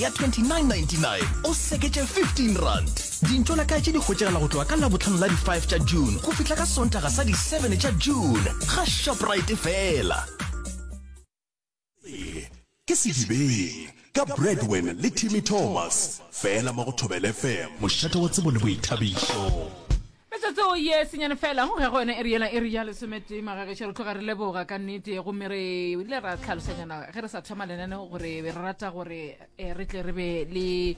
Ya 29.99 o seketše R15. Dintšo la kae tše di hwetšagala go tloga ka Labohlano la di 5 tša June go fihla ka Sontaga sa di 7 tša June ga Shoprite fela. Se ke Sedibeng ka Bradwin le Timmy Thomas fela mo go Thobela FM, mošate wa tsebo le boithabišo. Metsotso ye senyane fela go ge go yona iri yela iri ya lesometee magagešo re tloga re leboga ka nnete gomme re ile ra tlhalosanyana ge re sa thoma lenaneo gore re rata gore eh, re tle re be le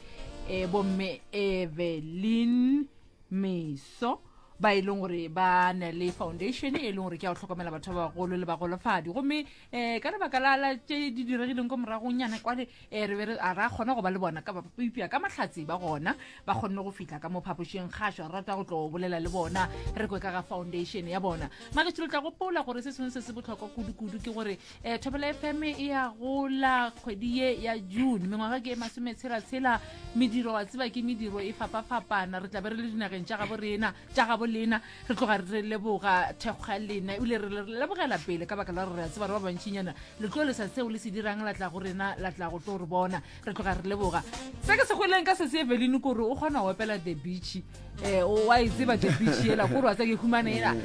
eh, bomme Evelyn Meso ba e leng gore ba na le foundation e leng gore ke ya go hlokomela batho ba bagolo le bagolofadi gomme um ka lebaka la la tše di diregileng ko moragonyana kwale um re be re a ra kgona go ba le bona ka eupša ka mahlatse ba gona ba kgonne go fihla ka mo phapošeng kgašo re rata go tlo bolela le bona re kwe ka ga foundation ya bona magetšo le tla gopola gore se sengwe se se bohlokwa kudu-kudu ke gore um thobela fm e ya gola kgwedi ye ya june mengwaga ke e masometshela-tshela mediro wa tseba ke mediro e fapa-fapana re tla be re le dinageng tša gabo rena tša gabo lena re tloga re leboga thekgo ya lena ebile re le lebogela pele ka baka la gore re a tseba re ba bantšinyana le tlo lesa seo le se dirang la tla go rena la tla go tlo re bona re tloga re leboga se ke se gweleng ka sese evelyn kore o kgona go opela the beach um wa e tseba the beach ela kore wa tsa ke humane ela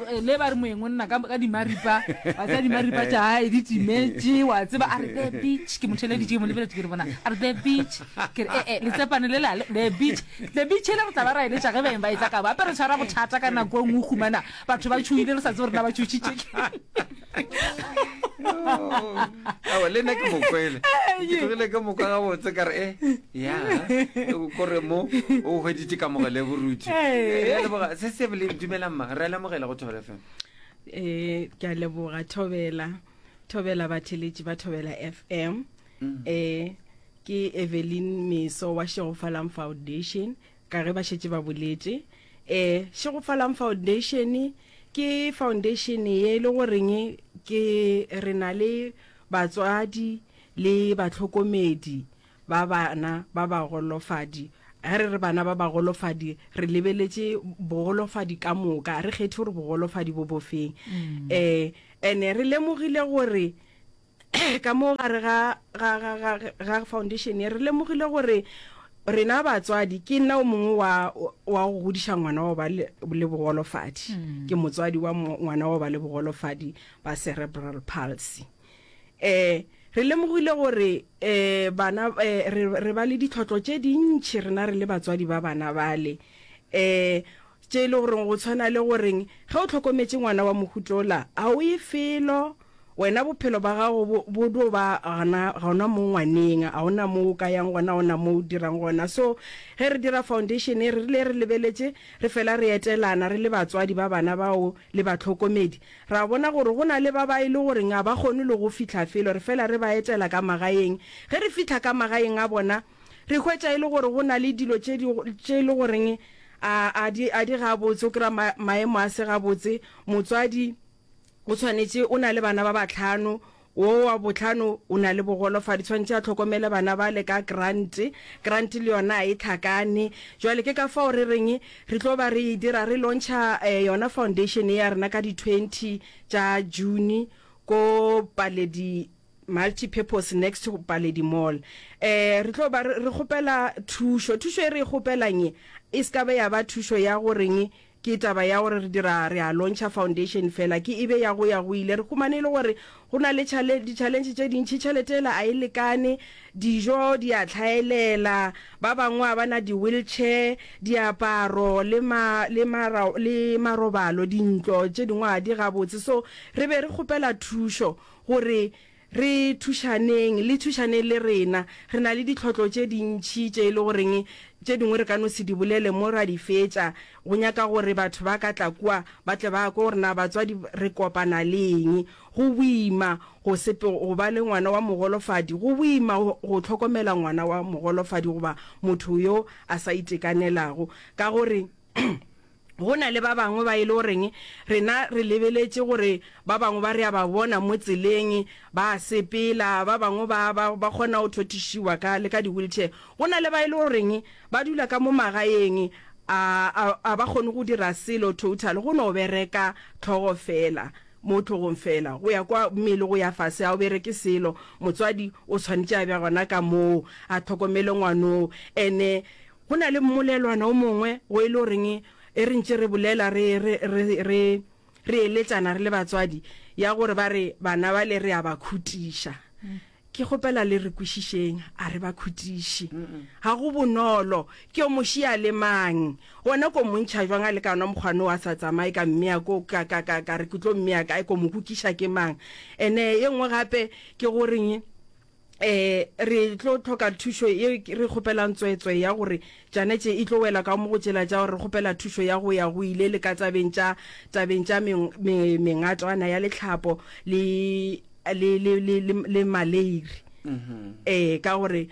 eh, le ba re moeng o nna ka dimaripa wa tsa dimaripa tša gae di timetše wa tseba a re the beach ke motheleditše ke mo lebeletše ke re bona a re the beach ke re ee letsepane le la the beach The beach ele re tla ba ra eletša ge baeng ba etla ka gape re tshwara bothata ka nako e nngwe humana batho ba tšhoile re sa tsebe gore na ba tšhošitše Aowa, le nna ke mokwele ke tlogile ke mokwa gabotse ka re e ya kore mo o hweditše kamogelo e borutho re a leboga se se bele dumelang ma re a lemogela go thobela fm eh ke a leboga thobela thobela batheletši ba thobela fm eh Ke Evelyn Meso wa Šegofalang Foundation, ka ge ba šetše ba boletše. E, Šegofalang Foundation ke foundation ye e le goreng ke re na le batswadi le bahlokomedi ba bana ba bagolofadi. Ge re re bana ba bagolofadi, re lebeletše bogolofadi ka moka, re kgethe gore bogolofadi bo bofeng. E, ene re lemogile gore Ka mo gare ga, ga, ga, ga, ga foundation ye, re lemogile gore rena batswadi, ke nna o mongwe wa, wa go godiša ngwana wa go ba le, le bogolofadi. Mm. Ke motswadi wa ngwana wa go ba le bogolofadi ba cerebral palsy. Eh, re lemogile gore eh, bana eh, re, re ba le ditlhotlo tše dintši rena re le batswadi ba bana bale. Eh, tše e le goreng go tshwana le goreng ge o hlokometše ngwana wa mohutola a o ye felo Wena bophelo ba gago bo, bo dio ba gona, gona mo ngwaneng, ga ona mo o ka yang gona, ga ona mo o dirang gona. So, ge re dira foundation ye, re rile re lebeletše, re fela re etelana re le batswadi ba bana bao le bahlokomedi, ra bona gore go na le ba ba e le goreng ga ba kgone le go fihla felo, re fela re ba etela ka magaeng. Ge re fihla ka magaeng a bona, re hwetša e le gore go na le dilo tše di, tše e le goreng a, a di, a di gabotse, o kry-a ma, maemo a se gabotse, motswadi, O tshwanetše, o na le bana ba bahlano, wo wa bohlano o na le bogolofadi, tshwanetše a hlokomele bana bale ka grant, grant le yona a e hlakane. Jwale ke ka fao re reng re tlo ba re e dira, re launcha yona foundation ye ya rena ka di 20 tša June ko Paledi Multi-purpose next to Paledi Mall. Eh, re tlo ba re, re kgopela thušo. Thušo e re e kgopelang ye, e se ka ba ya ba thušo ya goreng Ke taba ya gore re dira, re a launcha foundation fela, ke e be ya go ya go ile. Re humane e le gore go na le chale, di-challenge tše dintši, tšhelete yela a e lekane, dijo di a hlaelela, ba bangwe ga ba na di-wheelchair, diaparo le ma, le mara, le marobalo, dintlo tše dingwe ga di gabotse. So re be re kgopela thušo gore Re thušaneng, le thušaneng le rena. Re na le ditlhotlo tše dintši tše e le goreng tše dingwe re ka no se di bolele mo ra di fetša. Go nyaka gore batho ba ka tla kua ba tle ba kwe gore na batswadi re kopana le eng. Go boima go sepe go ba le ngwana wa mogolofadi, go boima go hlokomela ngwana wa mogolofadi goba motho yo a sa itekanelago ka gore Go na le ba bangwe ba e le goreng rena re lebeletše gore ba bangwe ba re a ba bona mo tseleng ba a sepela, ba bangwe ba, ba, ba kgona go thothišiwa ka, le ka di-wheelchair. Go na le ba e le goreng ba dula ka mo magaeng, a, a, a ba kgone go dira selo total, go no bereka hlogo fela. Mo hlogong feela, go ya kwa mmele go ya fase, ga o bereke selo. Motswadi o tshwanetše a be gona ka moo, a hlokomele ngwanoo. Ene go na le mmolelwana o mongwe go e le goreng e re ntše re bolela re, re, re, re, re eletšana re le batswadi, ya gore ba re bana bale re a ba khutiša. Ke kgopela le re kwešišeng, a re ba khutiši. Ga go bonolo. Ke yo mo šia le mang? Gona ko mo ntšha jwang a le ka ona mokgwa no a sa tsamaye ka mmea ko ka ka ka ka re ke tlo mmea kae ko mo kukiša ke mang? Ene ye nngwe gape ke goreng eh re tlo tlhoka thušo ye re kgopelang tswetswe ya gore tšana tše e tlo wela ka mo go tšela tša gore re kgopela thušo ya go ya go ile le ka tabeng tša tabeng tša mengatwana ya letlhapo le le, le, le, le, le maleiri. Ee, ka gore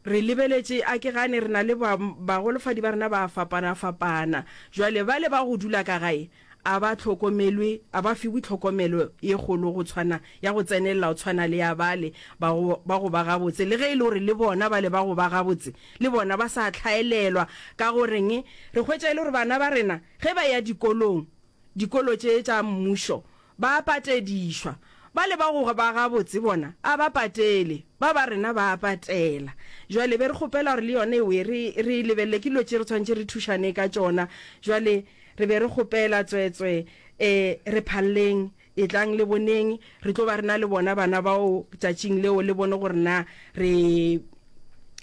re lebeletše, a ke gane, re na le ba, bagolofadi ba rena ba a fapana-fapana. Jwale bale ba go dula ka gae, a ba hlokomelwe, a ba fiwe tlhokomelo ye kgolo go tshwana, ya go tsenelela go tshwana le ya bale ba go, ba go ba gabotse. Le ge e le gore le bona bale ba go ba gabotse, le bona ba sa hlaelelwa. Ka goreng? Re hwetša e le gore bana ba rena ge ba eya dikolong, dikolo tše tša mmušo, Ba a patedišwa. Bale ba go ba gabotse bona a ba patele, ba ba rena ba a patela. Jwale be re kgopela gore le yona ewe re, re e lebelele, ke dilo tše re tshwanetše re thušane ka tšona. Jwale re be re kgopela, tsweetswee, e re phalleng, etlang le boneng, re tlo ba re na le bona bana bao tšatšing leo, le bone gore na re,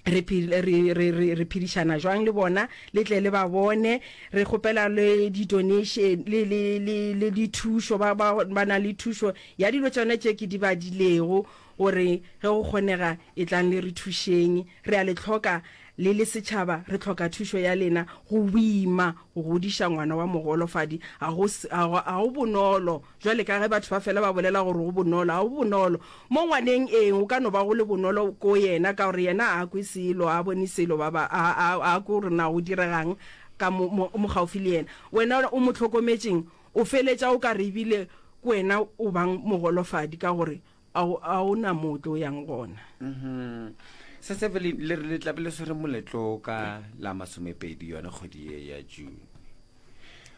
re, re, re, re, re phedišana jwang le bona, le tle le ba bone. Re kgopela le di-donation le, le, le, le dithušo, ba, ba, ba na le thušo ya dilo tšona tše ke di badilego, gore ge go kgonega etlang le re thušeng. Re a le hloka le le setšhaba, re hloka thušo ya lena. Go boima go godiša ngwana wa mogolofadi, ga go, ga go bonolo. Bjale ka ge batho ba fela ba bolela gore go bonolo, ga go bonolo. Mo ngwaneng, ee, go ka no ba go le bonolo ko yena ka gore yena ga a kwe selo, ga a bone selo, ba ba, a, a, a kwe gore na go diregang ka mo, mo, mo gaufi le yena. Wena o mo hlokometšeng, o feletša o ka re ebile ke wena o bang mogolofadi ka gore a o, a o na mo o tlo yang gona. Mhm. Se se le le re le tla be le swere moletlo ka la masomepedi yone kgwedi ye ya June.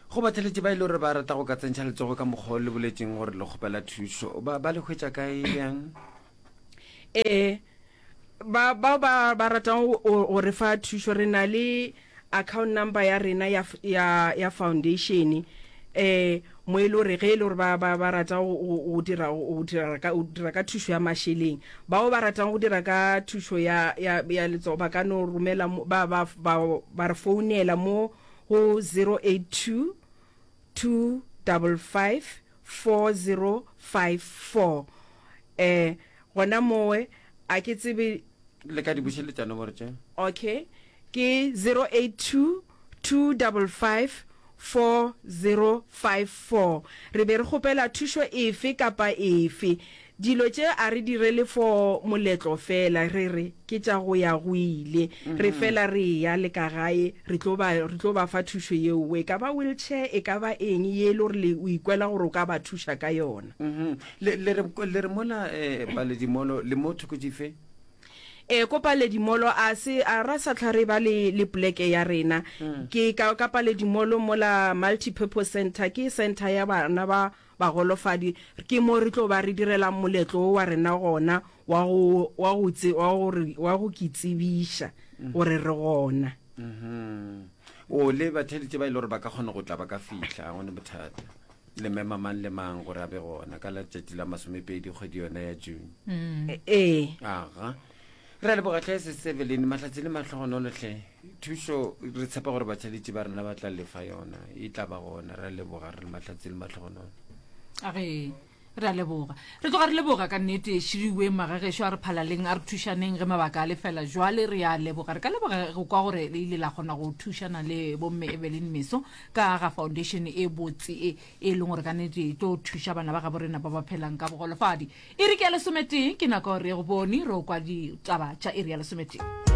Go batheletši ba e le gore ba rata go ka tsentšha letsogo ka mokgwa o le boletseng gore le kgopela thušo, ba, ba le hwetša kae bjang? Ee, ba bao ba ba ratang go, go, go re fa thušo, re na le account number ya rena ya, ya, ya foundation, eh, mo e le gore ge e le gore ba, ba, ba rata go, go, go dira, go dira ka, go dira ka thušo ya mašeleng. Bao ba ratang go dira ka thušo ya, ya, ya letsogo ba ka no romela mo, ba, ba, ba, ba re founela mo go 082 255 4054. Eh, gona mowe a ke tsebe. Le ka di bušeletša nomoro tše? Okay, ke 082 255 4054. Re be re kgopela thušo efe kapa efe. Dilo tše a re direle for moletlo fela, re re ke tša go ya go ile. Re fela re eya le ka gae, re tlo ba, re tlo ba fa thušo yeo. E ka ba wheelchair, e ka ba eng ye e le gore le, o ikwela gore o ka ba thuša ka yona. Le, le re, le re mola eh, Paledimolo, le mo thoko dife? Ee, ko Paledimolo a se, a ra sa hlwa re ba le, le poleke ya rena. Ke ka, ka Paledimolo mola Multi-Purpose Centre, ke centre ya bana ba bagolofadi, ke mo re tlo ba re direlang moletlo wo wa rena gona wa go, wa go tse, wa go re, wa go ke tsebiša gore re gona. Mhm. O le batheeletši ba e le gore ba ka kgona go tla ba ka fihla, ga go ne bothata. Le mema mang le mang gore a be gona ka letšatši la masomepedi kgwedi yona ya June. Ee. Aga. Re a leboga hle Sis Evelyn, mahlatse le mahlogonolo hle. Thušo re tshepa gore batheeletši ba rena ba tla lefa yona, e tla ba gona. Re a leboga re le mahlatse le mahlogonolo. A ge re a leboga. Re tloga re leboga ka nnete Širiwe magagešo a re phalaleng a re thušaneng ge mabaka a le fela jwale re a leboga. Re ka leboga go kwa gore le ile la kgona go thušana le bomme Evelyn Meso ka ga foundation e botse e e leng gore ka nnete e tlo thuša bana ba gabo rena ba ba phelang ka bogolofadi. Iri ke ya lesometee, ke nako re go bone re o kwa ditaba tša iri ya lesometee.